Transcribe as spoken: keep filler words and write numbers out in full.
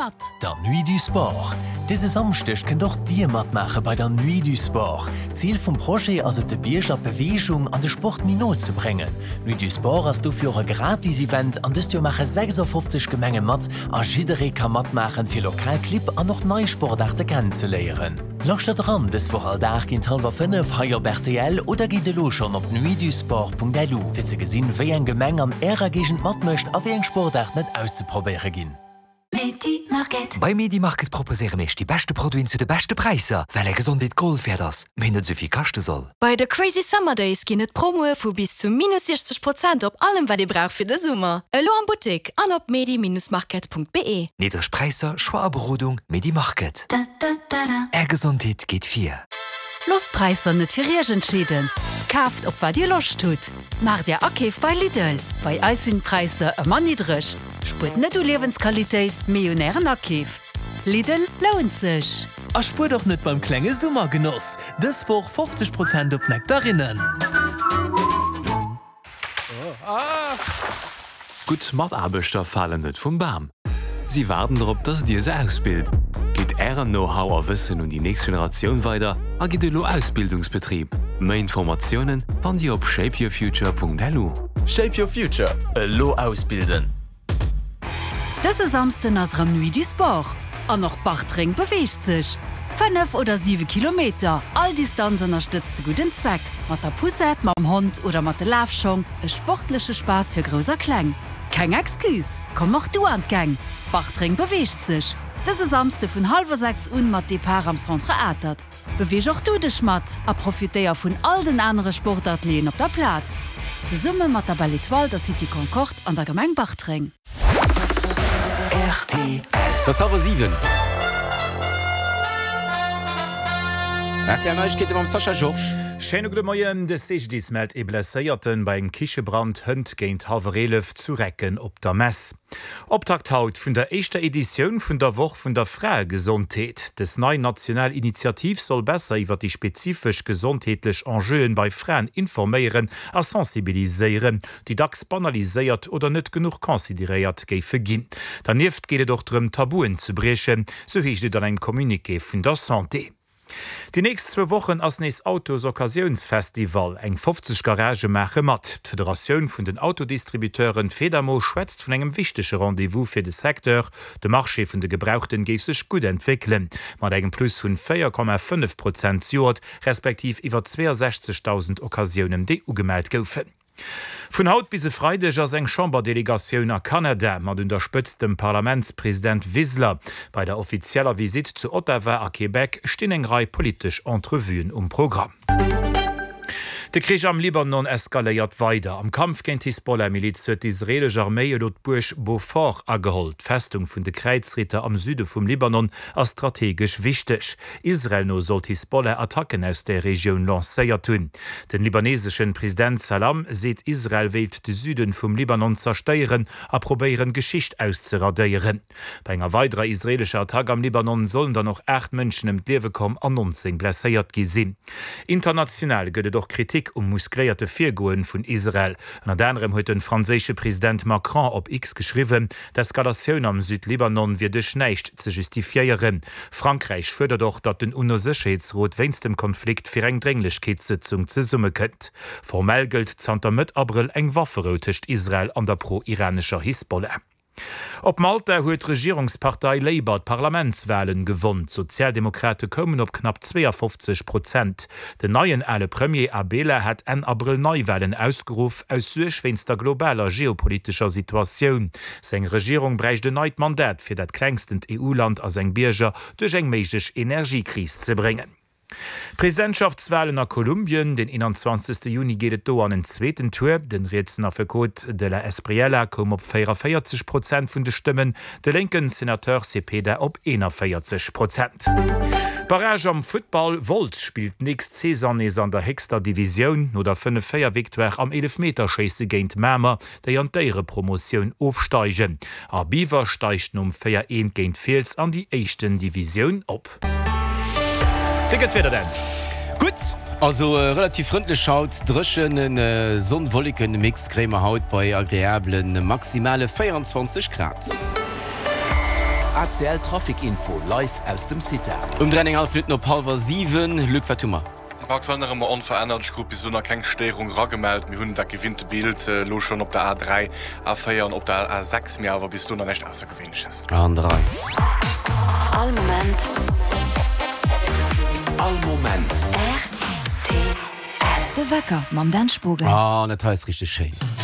mat! Der Nuit du Sport. Dëse Samschdeg kënnt och Dir matmaache bei der Nuit du Sport. Zil vum Projet ass et de Bierger d'Beweegung an de Sport méi no ze bréngen. D'Nuit du Sport ass dofir och e gratis Event an dëst Joer maache sechsafofzeg Gemenge mat a jidderee ka matmaachen fir lokal Clibb an och nei Sportaarte kennenzeléieren. Lauschtert eran dës Woch all Dag géint hallwer fënnef hei op rtl oder gitt elo schonn op nuitdusport.lu fir ze gesinn wéi eng Gemeng an ärer Géigend matmécht a wéi eng Sportaarten et auszeprobéiere ginn. Bei Medimarket proposéiere mir iech déi beschte Produiten zu de beschte Präisser, well är Gesondheet Gold wäert ass, mee net esou vill kaschte soll. Bei de Crazy Summer Days ginn et Promoe vu bis zu minus siechzeg Prozent op allem wat dir braucht fir de Summer. Elo am Buttek an op medi-market.be. Niddreg Präisser, Choix a Berodung, Medimarket. Är Gesondheet geet vir. Loosst d'Präisser net fir iech entscheeden, kaaft op wat dir Loscht hutt. Maacht är Akeef bei Lidl, bei eis sinn d'Präisser ëmmer niddreg. Spuert net u Liewensqualitéit, mee un ären Akeef. Lidl lount sech! A spuert och net beim klenge Summergenoss! Dës Woch fofzeg Prozent op Nektarinnen! Gutt Mataarbechter falen net vum Bam. Si waarden drop, dass Dir se ausbilt. Gitt Ären Know-how a Wëssen un déi nächst Generatioun weider a gitt elo Ausbildungsbetrib. Méi Informatiounen fannt Dir op shapeyourfuture.lu. Shape your future, elo ausbilden! Dëse Samsden ass erëm Nuit du Sport an och Bartreng beweegt sech. Fënnef oder siwe Kilometer, all Distanz ënnerstëtzt de gudden Zweck. Mat der Poussette, mam Hond oder mat de Lafschong, e sportleche Spaass fir Grouss a Kleng. Keng Excuse, komm och du an d'Gäng! Bartreng beweegt sech! Dëse Samsde vun hallwer sechs un mat Depart am Centre Atert. Beweeg och du dech mat a profitéier vun all den anere Sportatelieren op der Plaz. Zesumme mat der Belle Etoile, der City Concorde an der Gemeng Bartreng. Rtl. Et ass hallwer siwen. Rtl Neiegkeete mam Sascha Georges. Schéine gudde Moien. De C G D I S mellt ee Blesséierten bei engem Kichebrand hënt géint hallwer eelef zu Recken op der Mess. Optakt haut vun der éischter Editioun vun der Woch vun der Fraegesondheet. Dës nei national Initiativ soll besser iwwer déi spezifesch gesondheetlech Enjeuen bei Fraen informéieren a sensibiliséieren, déi dacks banaliséiert oder net genuch consideréiert géife ginn. Dernieft geet et och drëm, Tabuen ze briechen, sou heescht et an engem Communiqué vun der Santé. Déi nächst zwou Wochen ass nees Autos-Occasiouns-Festival. Eng fofzeg Garagë maache mat. D'Federatioun vun den Autodistributeuren, Fedamo, schwätzt vun engem wichtege Rendez-vous fir de Secteur. De Marché vun de Gebrauchten géif sech gutt entwéckelen, mat engem Plus vun véier Komma fënnef Prozent zejoert, respektiv iwwer zweeënsechzegdausend Occasiounen, déi ugemellt goufen. Vun haut bis e Freideg ass eng Chamberdelegatioun a Kanada, mat un der Spëtzt dem Parlamentspresident Wiseler. Bei der offizieller Visitt zu Ottawa a Québec stinn eng Rei politesch Entrevuen um Programm. De Krich am Libanon eskaléiert weider. Am Kampf géint d'Hisbollah-Miliz huet d'israeelesch Arméi elo d'Buerg Beaufort ageholl. D'Festung vun de Kräizritter am Süde vum Libanon ass strategesch wichteg. Israel no soll d'Hisbollah Attacken aus där Regioun lancéiert hunn. Den libaneseschen President Salam seet, Israel wéilt de Süden vum Libanon zerstéieren a probéieren, Geschicht auszeradéieren. Bei enger weiderer israeelescher Attack am Libanon sollen dann och aacht Mënschen ëm d'Liewe komm an nonzéng blesséiert gi sinn. International gëtt et och Kritik um muskléierte Virgoen vun Israel. Ënnert anerem huet de franséische President Macron op X geschriwwen, d'Eskalatioun am Südlibanon wier duerch näischt ze justifiéieren. Frankräich fuerdert och, datt den UNO-Sécherheetsrot wéinst dem Konflikt fir eng Drénglechkeetssëtzung zesummekënnt. Formell gëllt zanter Mëtt Abrëll eng Wafferou tëscht Israel an der pro-iranescher Hisbollah. Op Malta huet d'Regierungspartei Labour d'Parlamentswalen gewonn. D'Sozialdemokrate koumen op knapp zweeënfofzeg Prozent. Den neien ale Premier Abela hat Enn Abrëll Neiwalen ausgeruff, aus Suerg wéinst der globaler geopolitescher Situatioun. Seng Regierung bräicht en neit Mandat, fir dat klengstent E U-Land a seng Bierger duerch eng méiglech Energiekris ze bréngen. Presidentschaftswalen a Kolumbien, Den eenanzwanzegste Juni geet et do an en zweeten Tour. Den rietsen Affekot de la Espriella koum op véierunvéierzeg Prozent vun de Stëmmen, de lénken Senateur Cepeda op eenanvéierzeg Prozent. Barrage am Futtball, Wolz spillt d'nächst Saison nees an der héchster Divisioun, no der fënnef véier Victoire am Eelefmeterschéisse géint Mamer, déi an d'Éierepromotioun ofsteigen. A Biwer steigt nom véier eent géint Fiels an déi éischten Divisioun op. Wéi gëtt d'Wieder denn? Gutt, also relativ frëndlech haut, dréchene Sonn-Wolleken-Mix kréie mer haut bei agreabele maximale véierundzwanzeg Grad. A C L Trafic Info live aus dem Cita. Um dräi an eng hallef Minutten op hallwer siwen, Luc, wat hu mer? Aktuell nach ëmmer onverännert, ech krut bis elo nach keng Stéierung eragemellt. Mir hunn dat gewinnte Bild elo schonn op der A dräi, A véier an op der A sechs, mee awer bis elo nach näischt Aussergewéinleches. An der Rei. All Moment. All Moment. R T L. De Wecker mam Dan Spogen. Ah, dat hei ass richteg schéin.